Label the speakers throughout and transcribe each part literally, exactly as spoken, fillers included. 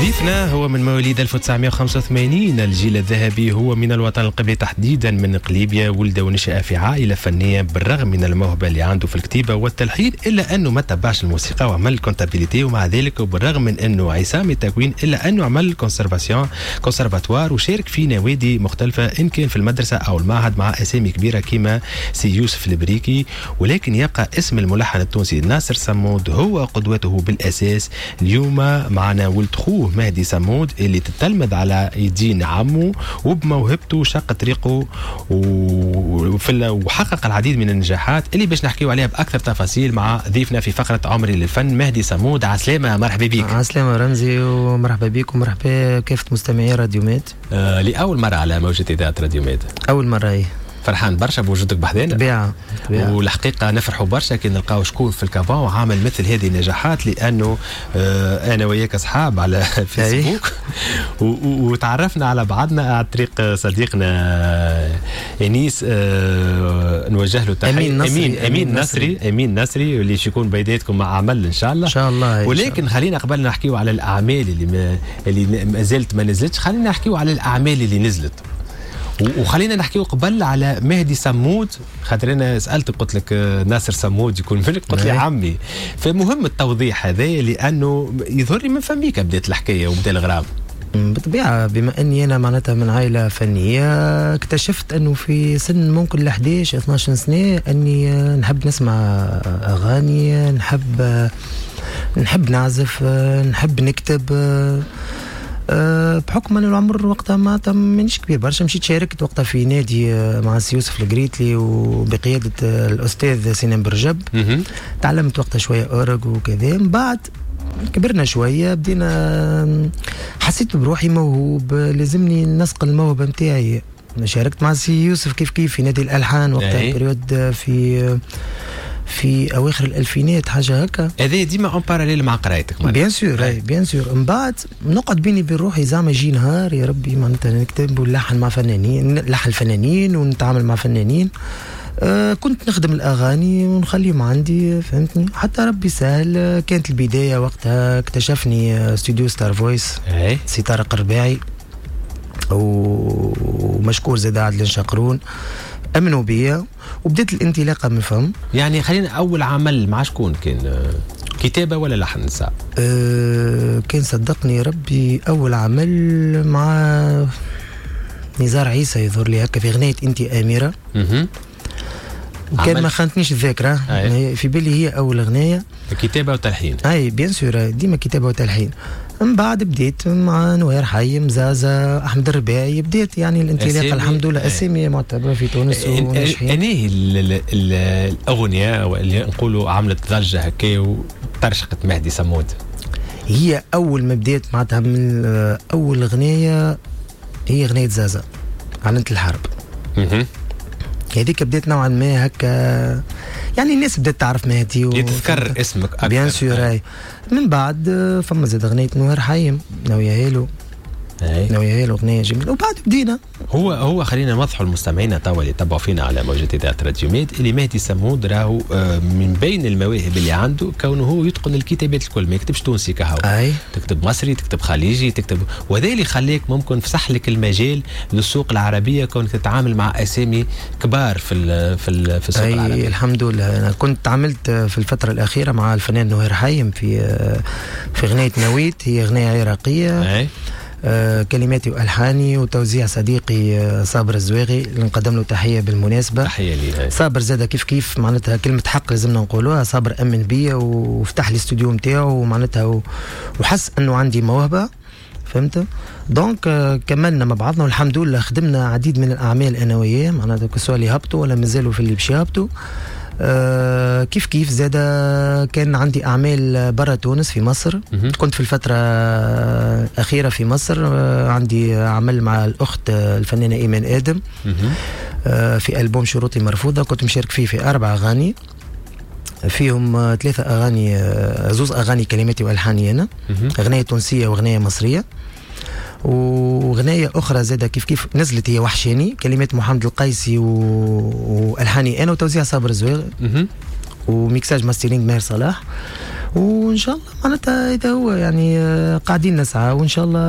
Speaker 1: ضيفنا هو من مواليد ألف وتسعمية وخمسة وثمانين، الجيل الذهبي، هو من الوطن القبلي، تحديدا من قليبيا. ولد ونشأ في عائلة فنية. بالرغم من الموهبة اللي عنده في الكتيبة والتلحين، إلا أنه ما تبعش الموسيقى وعمل comptabilité. ومع ذلك، وبالرغم من أنه عصامي التكوين، إلا أنه عمل conservation conservatoire وشارك في نوادي مختلفة، إن كان في المدرسة أو المعهد، مع أسامي كبيرة كما سي يوسف البريكي. ولكن يبقى اسم الملحن التونسي ناصر صمود هو قدوته بالأساس. اليوم معنا ولد خوه مهدي صمود، اللي تتلمذ على يدين عمه وبموهبته شق طريقه وحقق العديد من النجاحات اللي باش نحكيو عليها باكثر تفاصيل مع ضيفنا في فقره عمري للفن، مهدي صمود. عسلامه، مرحبا بك.
Speaker 2: عسلامة رمزي، ومرحبا بك ومرحبا بكافة مستمعي راديو ميد.
Speaker 1: آه لاول مرة على موجه اذاعة راديو ميد.
Speaker 2: اول مرة، ايه.
Speaker 1: فرحان برشا بوجودك بحذانا.
Speaker 2: طبيعة.
Speaker 1: والحقيقة نفرحوا برشا كي نلقاو شكون في ال Cap وعامل مثل هذه النجاحات، لانه آه انا وياك اصحاب على فيسبوك وتعرفنا على بعضنا عن طريق صديقنا انيس، آه نوجه له تحية.
Speaker 2: امين نصري.
Speaker 1: امين امين نصري، امين نصري، اللي يكون بيداتكم مع عمل ان شاء الله.
Speaker 2: ان شاء الله.
Speaker 1: ولكن خلينا قبل نحكيو على الاعمال اللي ما اللي ما زالت ما نزلتش، خلينا نحكيو على الاعمال اللي نزلت، وخلينا نحكيو قبل على مهدي سمود، خاطر انا سالتك قلت لك آه، ناصر سمود يكون منك، قلت لي عمي. فمهم التوضيح هذا، لانه يظهر لي من فميك بدات الحكاية وبدا الغرام.
Speaker 2: بالطبيعة، بما أني أنا معناتها من عائلة فنية، اكتشفت أنه في سن ممكن ل إحداش اثناش سنة أني نحب نسمع أغاني، نحب نحب نعزف، نحب نكتب. أه، بحكم ان العمر وقتها ما مانيش كبير برشا، مشيت شاركت وقتها في نادي أه، مع سي يوسف القريتلي وبقياده الاستاذ سنان برجب. تعلمت وقتها شوية اورج وكذا. من بعد كبرنا شويه، بدينا حسيت بروحي موهوب، لازمني نصقل الموهبة نتاعي. شاركت مع سي يوسف كيف كيف في نادي الالحان وقتها، période في في اواخر الالفينات، حاجة هكا.
Speaker 1: هذا ديما en parallèle مع قرايتك؟
Speaker 2: bien sûr، bien sûr. من بعد نقعد بيني وبين روحي، زعما يجي نهار يا ربي معناتها نكتب ونلحن مع فنانين، نلحن فنانين ونتعامل مع فنانين. آه كنت نخدم الاغاني ونخليهم عندي، فهمتني، حتى ربي سهل. كانت البداية وقتها اكتشفني استوديو ستار فويس، سي طارق الرباعي، ومشكور زاد عادل شقرون، امنوا بيا وبدات الانطلاقة من فم.
Speaker 1: يعني خلينا، اول عمل مع شكون كان؟ كتابه ولا لحن ساعة؟
Speaker 2: أه كان صدقني ربي اول عمل مع نزار عيسى يظهر لي هكا، في غنايه انت اميره.
Speaker 1: اها
Speaker 2: كان ما خانتنيش الذاكره، في بالي هي اول اغنيه.
Speaker 1: كتابه وتلحين؟
Speaker 2: اي bien sûr، ديما كتابه وتلحين. من بعد بديت مع نوير حيم، زازا، احمد الرباعي، بديت يعني الانطلاقه، الحمد لله، اسامي معتبره في تونس
Speaker 1: وناجحين. انهي الاغنية اللي نقولوا عملت ضجه هكا وترشقت مهدي سمود؟
Speaker 2: هي اول ما بديت معناتها من اول اغنية هي اغنية زازا اعلنت الحرب. هذيك بديت نوعا ما هكا، يعني الناس بدات تعرف مهدي.
Speaker 1: و... يتذكر اسمك
Speaker 2: اكثر. bien sûr، اي. من بعد فما زاد اغنية نوير حيم، ناوية هالو، ناوية هالو، اغنية جميله، وبعد بدينا.
Speaker 1: هو هو خلينا نوضحوا للمستمعين توا اللي تبعوا فينا على موجة اذاعة راديو ميد، اللي مهدي سمود راهو آه، من بين المواهب اللي عنده كونه هو يتقن الكتابات الكل، ما يكتبش تونسي كهو،
Speaker 2: اي
Speaker 1: تكتب مصري، تكتب خليجي، تكتب، وهذا اللي خليك ممكن فسح لك المجال للسوق العربيه، كونك تتعامل مع اسامي كبار في ال في ال في السوق العربي.
Speaker 2: الحمد لله، انا كنت تعاملت في الفترة الاخيرة مع الفنان نهير حيم في في اغنية نويت، هي اغنية عراقيه.
Speaker 1: أي.
Speaker 2: آه، كلماتي والحاني وتوزيع صديقي آه، صابر الزواغي، اللي نقدم له تحية بالمناسبه.
Speaker 1: تحية ليه.
Speaker 2: صابر زاد كيف كيف، معناتها كلمة حق لازمنا نقولوها، صابر امن بيا وفتح لي استوديو نتاعو، ومعناتها وحس انه عندي موهبه، فهمت؟ donc آه، كملنا مع بعضنا والحمد لله، خدمنا عديد من الاعمال انا وياه، معناتها que ce soit اللي هبطوا ولا مازالوا في اللي باش يهبطوا. آه كيف كيف زاد كان عندي اعمال برا تونس، في مصر. كنت في الفترة الاخيرة في مصر، آه عندي عمل مع الاخت الفنانة ايمان ادم آه في البوم شروطي مرفوضه، كنت مشارك فيه في اربع اغاني، فيهم ثلاثة أغاني، آه، زوز أغاني كلماتي وألحاني أنا، أغنية تونسية وأغنية مصرية، وغناية أخرى زادة كيف كيف نزلت هي وحشاني، كلمات محمد القيسي و... وألحاني أنا وتوزيع صابر الزويغ و mixage mastering ماهر صلاح. وان شاء الله معناتها اذا هو يعني قاعدين نسعى وان شاء الله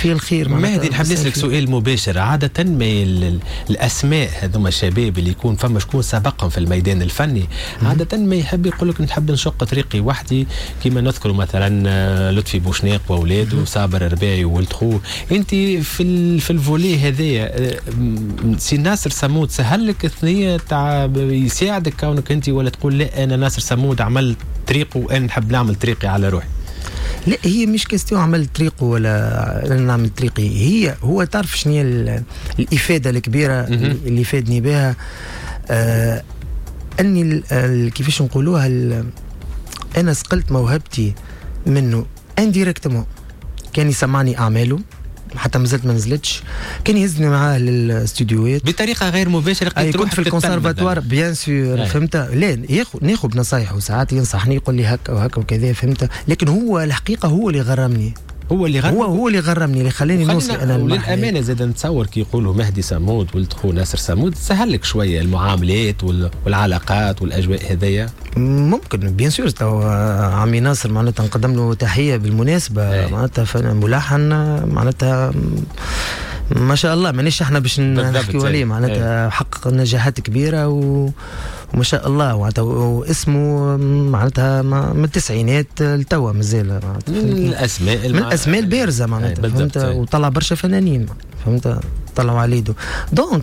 Speaker 2: في الخير.
Speaker 1: مهدي نحب نسالك سؤال مباشر، عادة ما الاسماء هذوما الشباب اللي يكون فما شكون سبقهم في الميدان الفني عادة ما يحب يقول لك نحب نشق طريقي وحدي، كما نذكر مثلا لطفي بوشناق واولاده وصابر الرباعي وولد خوه. انت في في ال volet هذايا سي ناصر صمود سهل لك الثنية تاع يساعدك كونك انت، ولا تقول لا انا ناصر صمود عمل طريقه وانا نحب نعمل طريقي على روحي؟
Speaker 2: لا هي مش question عمل طريقه ولا انا نعمل طريقي، هي هو تعرف شنو هي الافادة الكبيرة اللي فادني بها، آه اني كيفاش نقولوها، انا سقلت موهبتي منه indirectement. كان يسمعني اعماله حتى مازلت ما نزلتش، كان يهزني معاه للاستوديوهات
Speaker 1: بطريقة غير مباشرة.
Speaker 2: اي كنت في ال conservatoire bien sûr، فهمت؟ لا ياخذ ناخذ بنصايحه، ساعات ينصحني يقول لي هكا وهكا وكذا، فهمت؟ لكن هو الحقيقة هو اللي غرمني،
Speaker 1: هو اللي غرمني،
Speaker 2: هو هو اللي غرمني اللي خلاني نوصل انا.
Speaker 1: وللامانة زاد نتصور كي يقولوا مهدي صمود ولد خو ناصر صمود سهل لك شوية المعاملات والعلاقات والاجواء هذيا.
Speaker 2: ممكن bien sûr تو عمي ناصر معناتها نقدم له تحية بالمناسبة، معناتها ملحن معناتها ما شاء الله، مانيش احنا باش نحكيو عليه، معناتها حقق نجاحات كبيرة و... وما شاء الله، معناتها واسمه معناتها من التسعينات لتوا مازال
Speaker 1: من الاسماء
Speaker 2: من الاسماء البارزة معناتها، فهمت؟ وطلع برشا فنانين، فهمت؟ طلعوا على يده. donc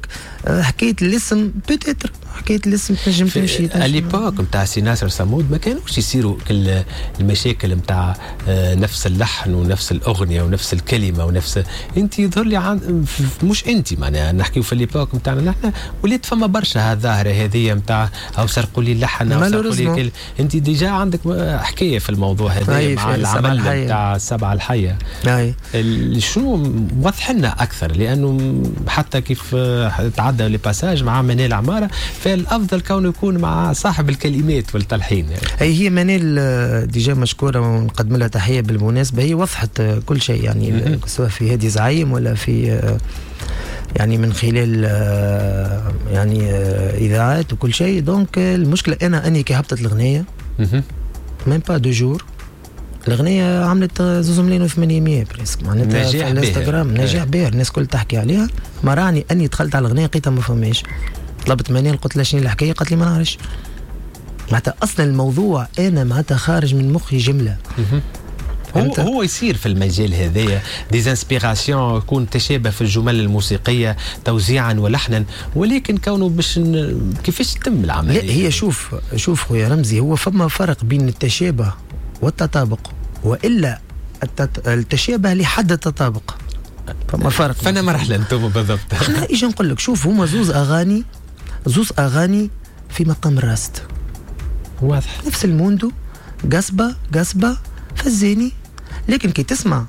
Speaker 2: حكاية الاسم peut-être حكاية الاسم تنجم تمشي.
Speaker 1: à l'époque نتاع سي ناصر صمود ما كانوش يصيروا كل المشاكل نتاع نفس اللحن ونفس الاغنية ونفس الكلمة ونفس انت يظهر لي عن... مش انت معناها نحكيو في l'époque نتاعنا نحن وليت فما برشا هالظاهره هذه نتاع او سرقوا لي اللحن او سرقوا لي كل... انت déjà عندك حكاية في الموضوع هذا مع العمل نتاع السبعة الحية. شنو وضح لنا اكثر، لانه حتى كيف تعدى le passage مع منال عمارة فالافضل كونه يكون مع صاحب الكلمات والتلحين. يعني
Speaker 2: هي هي منال déjà مشكورة ونقدم لها تحية بالمناسبة، هي وضحت كل شيء يعني سواء في هادي زعيم ولا في يعني من خلال يعني اذاعات وكل شيء. donc المشكلة انا اني كي هبطت الاغنية même pas deux jours الاغنية عملت زوز ملايين وثمانمية presque معناتها في الانستغرام، نجاح باهر، الناس الكل تحكي عليها. ما راني اني دخلت على الاغنية لقيتها ما فماش، طلبت منال قلت لها شنو الحكاية، قالت لي ما نعرفش. معناتها اصلا الموضوع انا معناتها خارج من مخي جملة.
Speaker 1: هو هو يصير في المجال هذايا des inspirations، يكون تشابه في الجمل الموسيقية توزيعا ولحنا، ولكن كونه باش ن... كيفاش تتم العملية؟
Speaker 2: لا هي شوف شوف خويا رمزي، هو فما فرق بين التشابه والتطابق، والا التت... التشابه لحد التطابق، فما فرق.
Speaker 1: فانا مرحلة انتم بالضبط.
Speaker 2: احنا ايش نقول لك، شوف هما زوز اغاني، زوز اغاني في مقام الراست
Speaker 1: واضح،
Speaker 2: نفس الموندو، قصبه قصبه فزيني، لكن كي تسمع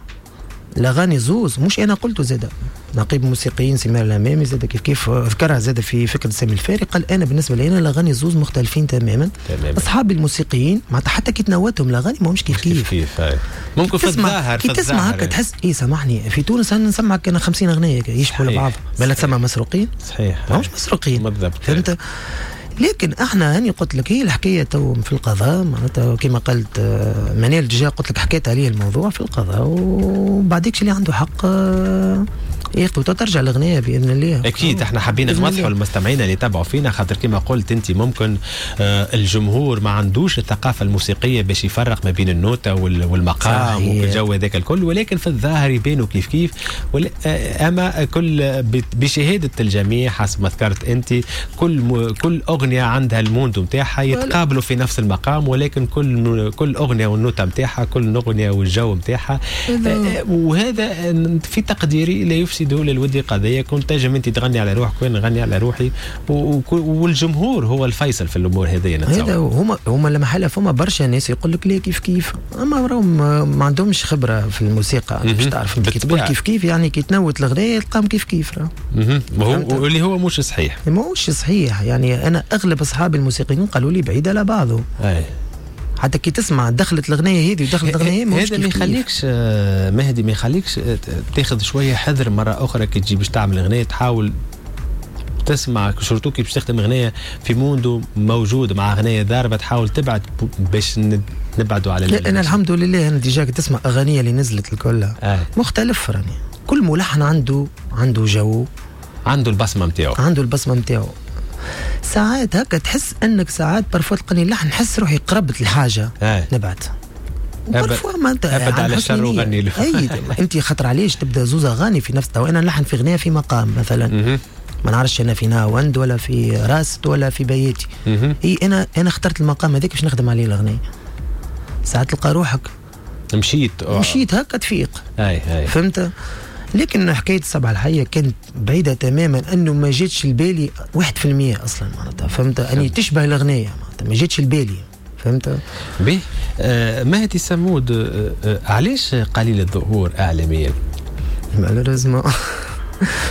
Speaker 2: الاغاني زوز، مش انا قلته زاده نقيب موسيقيين سمير الامامي زاده كيف كيف ذكرها زاده في فكرة سامي الفاري، قال انا بالنسبة لي انا الاغاني زوز مختلفين تماما. تماما. اصحاب الموسيقيين معناتها حتى كي تنوتهم الاغاني ماهمش كيف كيف.
Speaker 1: كيف كيف ممكن في الظاهر
Speaker 2: كي تسمع هكا تحس ايه سامحني في تونس انا نسمعك انا خمسين اغنية يشبهوا لبعض، بلا تسمع مسروقين.
Speaker 1: صحيح،
Speaker 2: ماهمش مسروقين
Speaker 1: بالضبط،
Speaker 2: فهمت؟ لكن احنا هاني قلت لك هي الحكاية تو في القضاء معناتها كما قلت منال déjà قلت لك حكيت عليه الموضوع في القضاء، وبعديك اللي عنده حق ياخذ ترجع الاغنية باذن الله.
Speaker 1: اكيد احنا حابين نوضحوا للمستمعين اللي تابعوا فينا، خاطر كما قلت انت ممكن الجمهور ما عندوش الثقافة الموسيقية باش يفرق ما بين النوتة والمقام والجو هذاك الكل، ولكن في الظاهر يبانوا كيف كيف. اما كل بشهادة الجميع حسب ما ذكرت انت، كل كل اغنية عندها الموندو نتاعها، يتقابلوا في نفس المقام، ولكن كل كل اغنية والنوتة نتاعها، كل اغنية والجو نتاعها، وهذا في تقديري لا يفسد للود قضية. كنت تنجم انت تغني على روحك وانا نغني على روحي، والجمهور هو الفيصل في الامور هذه.
Speaker 2: هذا هما هما لما حلا فما برشا ناس يقول لك لا كيف كيف، اما راهم ما عندهمش خبره في الموسيقى باش تعرف انت كي تقول كيف كيف يعني كي تنوت الاغنية تلقاهم كيف كيف راه.
Speaker 1: واللي هو مش صحيح،
Speaker 2: ماهوش صحيح. يعني انا اغلب اصحابي الموسيقيين قالوا لي بعيد على بعضه.
Speaker 1: أي.
Speaker 2: حتى كي تسمع دخلت الاغنية هذه ودخلت الاغنية
Speaker 1: هذا ما يخليكش مهدي، ما يخليكش تاخذ شوية حذر مرة اخرى كي تجي باش تعمل اغنية، تحاول تسمع surtout كي باش تخدم اغنية في monde موجود مع اغنية ضاربه، تحاول تبعد باش نبعدوا على.
Speaker 2: لا، انا الحمد لله، انا déjà تسمع اغانيه اللي نزلت الكل آه. مختلف، راني كل ملحن عنده عنده جو،
Speaker 1: عنده البصمة نتاعو.
Speaker 2: عنده البصمة نتاعو. ساعات هكا تحس انك ساعات parfois تلقاني لحن نحس روحي قربت الحاجة آه. نبعد.
Speaker 1: parfois ما انت ابعد على الشر وغني له.
Speaker 2: اي، انت خاطر علاش تبدا زوز اغاني في نفس، تو انا نلحن في اغنية في مقام مثلا، ما نعرفش انا في نهاوند ولا في راست ولا في بياتي، اي انا انا اخترت المقام هذاك باش نخدم عليه الاغنيه. ساعات تلقى روحك
Speaker 1: مشيت
Speaker 2: مشيت هكا تفيق.
Speaker 1: اي اي
Speaker 2: فهمت. لكن حكاية السبعة الحية كانت بعيدة تماما، انه ما جاتش لبالي واحد في المية اصلا معناتها، فهمت، اني تشبه الاغنية معناتها ما جاتش لبالي، فهمت.
Speaker 1: به آه مهدي سمود، آه آه علاش قليل الظهور اعلاميا؟
Speaker 2: malheureusement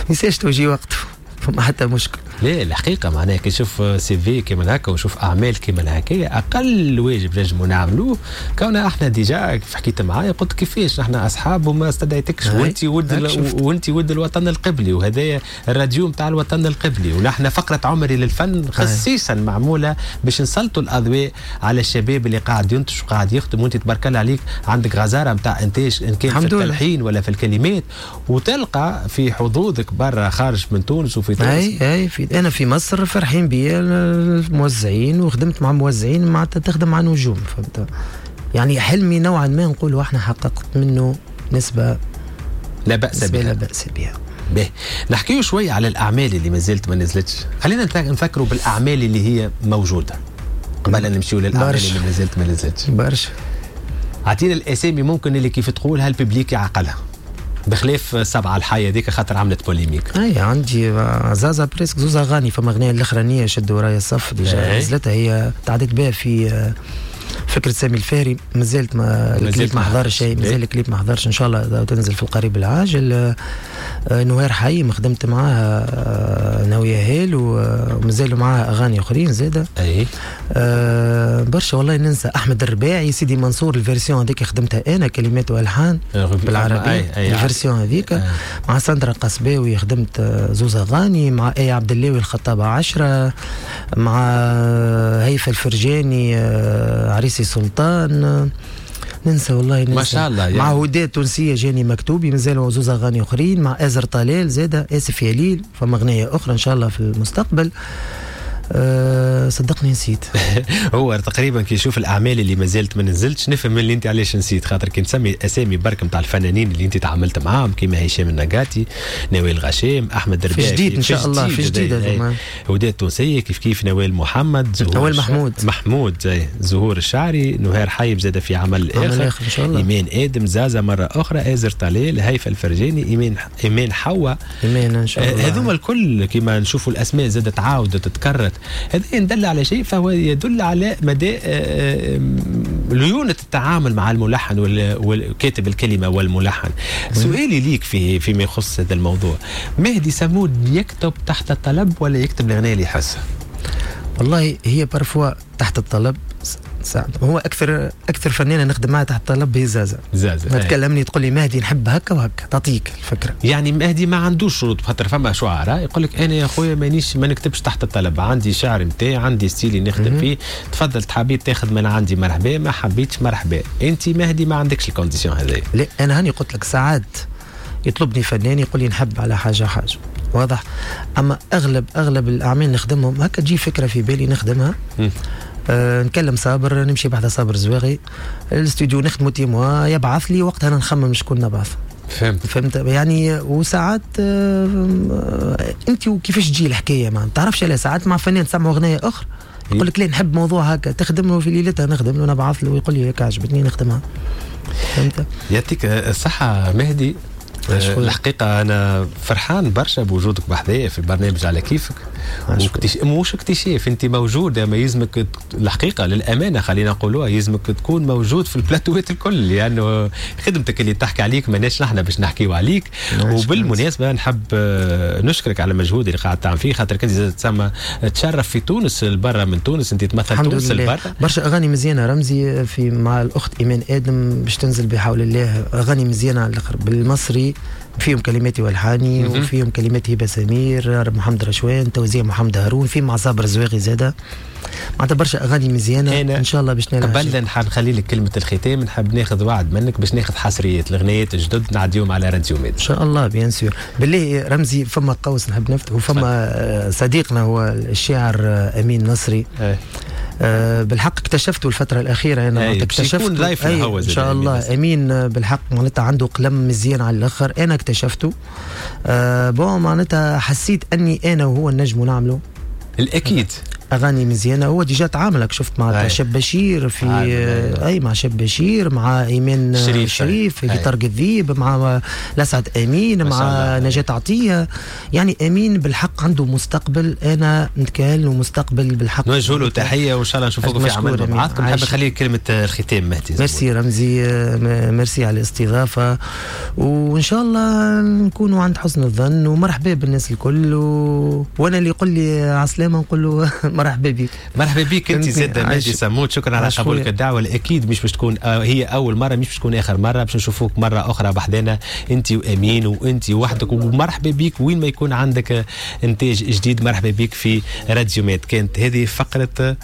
Speaker 2: ما توجي وقته، فما حتى مشكل.
Speaker 1: لا، الحقيقة معناها كي تشوف CV كيما هكا وشوف اعمال كيما هكايا، اقل واجب نجموا نعملوه كون احنا déjà كيف حكيت معايا قلت كيفاش نحن اصحاب وما استدعيتكش، وانت ولد وانت ولد الوطن القبلي، وهذايا الراديو نتاع الوطن القبلي، ونحن فقره عمري للفن خصيصا معمولة باش نسلطوا الاضواء على الشباب اللي قاعد ينتج وقاعد يخدم، وانت تبارك الله عليك عندك غزارة نتاع انتاج ان كان في التلحين ولا في الكلمات، وتلقى في حظوظك برا خارج من تونس وفي تونس.
Speaker 2: اي اي في انا في مصر فرحين بيا الموزعين، وخدمت مع موزعين معناتها تخدم مع نجوم، فهمت. يعني حلمي نوعا ما نقول احنا حققت منه نسبه
Speaker 1: لا باس بها.
Speaker 2: لا باس بها.
Speaker 1: به نحكيو شوي على الاعمال اللي ما زالت ما نزلتش، خلينا نفكروا بالاعمال اللي هي موجودة قبل ان نمشيو للاعمال اللي ما زالت ما نزلتش.
Speaker 2: برشا.
Speaker 1: اعطينا الاسامي ممكن اللي كيف تقولها ال public يعقلها، بخلاف سبعة الحية ذيك خاطر عملت polémique.
Speaker 2: اي عندي زازا presque زوز اغاني، فما اغنية الاخرانية شدوا ورايا الصف déjà نزلتها، هي تعديت بها في فكرة سامي الفهري، مازالت ما الكليب ما حضرش شيء، مازال الكليب ما حضرش، ان شاء الله تنزل في القريب العاجل. نوير حي ما خدمت معاها ناوية هيل، ومازالوا معاها اغاني اخرين زاده.
Speaker 1: اي
Speaker 2: أه برشا والله ننسى. احمد الرباعي، سيدي منصور، ال version هذيك خدمتها انا كلمات والحان بالعربية، ال version هذيك. مع ساندرا قصباوي خدمت زوز اغاني، مع اي عبد اللاوي الخطابة عشرة، مع هيفا الفرجاني عريسي سلطان، ننسى والله ننسى.
Speaker 1: ما شاء الله يعني.
Speaker 2: مع هدى تونسية جاني مكتوبي، مازالوا زوز اغاني اخرين، مع ازر طلال زاده اسف يا ليل، فما اغنية اخرى ان شاء الله في المستقبل. أه صدقني نسيت.
Speaker 1: هو تقريبا كي يشوف الاعمال اللي ما زالت ما نزلتش نفهم اللي انت علاش نسيت، خاطر كي نسمي اسامي برك نتاع الفنانين اللي انت تعاملت معاهم كيما هشام النقاتي، نوال غشام، احمد الرباعي،
Speaker 2: في جديد ان شاء الله، في جديد
Speaker 1: هدى التونسية كيف كيف، نوال محمد،
Speaker 2: نوال محمود
Speaker 1: محمود زهور الشعري، نهار حيب زاد في عمل اخر, آخر إن شاء الله، ايمان ادم، زازا مرة اخرى، ازر طلال، هيفا الفرجاني، ايمان ايمان حوا،
Speaker 2: ايمان ان شاء الله.
Speaker 1: هذوما الكل كيما نشوفوا الاسماء زادت تعاودت تتكررت، هذا يدل على شيء، فهو يدل على مدى ليونة التعامل مع الملحن وكاتب الكلمة والملحن. سؤالي ليك في فيما يخص هذا الموضوع، مهدي سمود يكتب تحت الطلب ولا يكتب الأغنية اللي يحسها؟
Speaker 2: والله هي parfois تحت الطلب. هو اكثر اكثر فنانة نخدم معها تحت الطلب هي زازا.
Speaker 1: زازا
Speaker 2: ما تكلمني تقول لي مهدي نحب هكا وهكا، تعطيك الفكرة.
Speaker 1: يعني مهدي ما عندوش شروط، خاطر فما شعراء يقول لك انا يا خويا مانيش ما نكتبش تحت الطلب، عندي شعر نتاعي، عندي style ي نخدم فيه، تفضل حبيت تاخذ من عندي مرحبا، ما حبيتش مرحبا. انت مهدي ما عندكش ال condition هذه.
Speaker 2: لا انا هاني قلت لك ساعات يطلبني فنان يقول لي نحب على حاجة حاجة واضح، اما اغلب اغلب الاعمال نخدمهم هكا تجي فكرة في بالي نخدمها.
Speaker 1: م.
Speaker 2: أه نكلم صابر، نمشي بحذا صابر زواغي الاستوديو نخدمو تيموا، يبعث لي وقتها انا نخمم شكون نبعث.
Speaker 1: فهمت
Speaker 2: فهمت يعني. وساعات أه انت وكيفاش تجي الحكاية ما تعرفش على ساعات مع فنان تسمع اغنية اخرى يقول لك لا نحب موضوع هكا، تخدم له في ليلتها، نخدم له نبعث له ويقول لي هيك عجبتني نخدمها. فهمت.
Speaker 1: يعطيك الصحة مهدي. الحقيقة أنا فرحان برشا بوجودك بحذايا في البرنامج على كيفك. واكتش... مش اكتشاف، انت موجودة، ما يلزمك الحقيقة للامانة خلينا نقولوها، يلزمك تكون موجود في البلاتوات الكل، لانه خدمتك اللي تحكي عليك ماناش نحن باش نحكيو عليك. وبالمناسبة نحب نشكرك على المجهود اللي قاعد تعمل فيه، خاطر كنت تسمى تشرف في تونس البرة، من تونس انت تمثل تونس البرة.
Speaker 2: برشا اغاني مزيانه رمزي في مع الاخت ايمان ادم باش تنزل بحول الله، اغاني مزيانه على الاخر بالمصري، فيهم كلماتي والحاني وفيهم كلمات هبه سمير، محمد رشوان، توزيع محمد هارون، في مع صابر زواغي زاده، معناتها برشا اغاني مزيانه ان شاء الله باش نلعب.
Speaker 1: قبل نخلي لك كلمة الختام، نحب ناخذ وعد منك باش ناخذ حصريات الغنيات الجدد نعديهم على راديو ميد
Speaker 2: ان شاء الله. bien sûr. بالله رمزي فما قوس نحب نفتح، وفما صديقنا هو الشاعر امين نصري. أه. أه بالحق اكتشفته الفترة الأخيرة أنا اكتشفته
Speaker 1: هو
Speaker 2: إن شاء الله أمين بالحق معناتها عنده قلم مزيان على الآخر، أنا اكتشفته أه bon معناتها حسيت أني أنا وهو النجم نعمله
Speaker 1: الأكيد
Speaker 2: أغاني مزيانة. هو déjà تعاملك شفت مع شاب بشير في آه. أي مع شاب بشير، مع إيمان شريف, شريف في طرق الذيب، مع لسعد أمين، مع نجاة عطية. يعني أمين بالحق عنده مستقبل، أنا نتكلم ومستقبل بالحق.
Speaker 1: نوجه له تحية وإن شاء الله نشوفكم في عمل مع بعضكم. نحب نخليك كلمة الختام مهدي.
Speaker 2: ميرسي رمزي، ميرسي على الاستضافة، وإن شاء الله نكونوا عند حسن الظن، ومرحبا بالناس الكل. و... وأنا اللي يقول لي عسلامة نقول له مرحبا بك.
Speaker 1: مرحبا بك انت زاد مهدي سموت، شكرا على قبولك الدعوة. الاكيد مش باش تكون هي اول مرة، مش باش تكون اخر مرة، باش نشوفوك مرة اخرى بحذانا انت وامين وانت وحدك. ومرحبا بك وين ما يكون عندك انتاج جديد، مرحبا بك في راديو ميد. كانت هذه فقره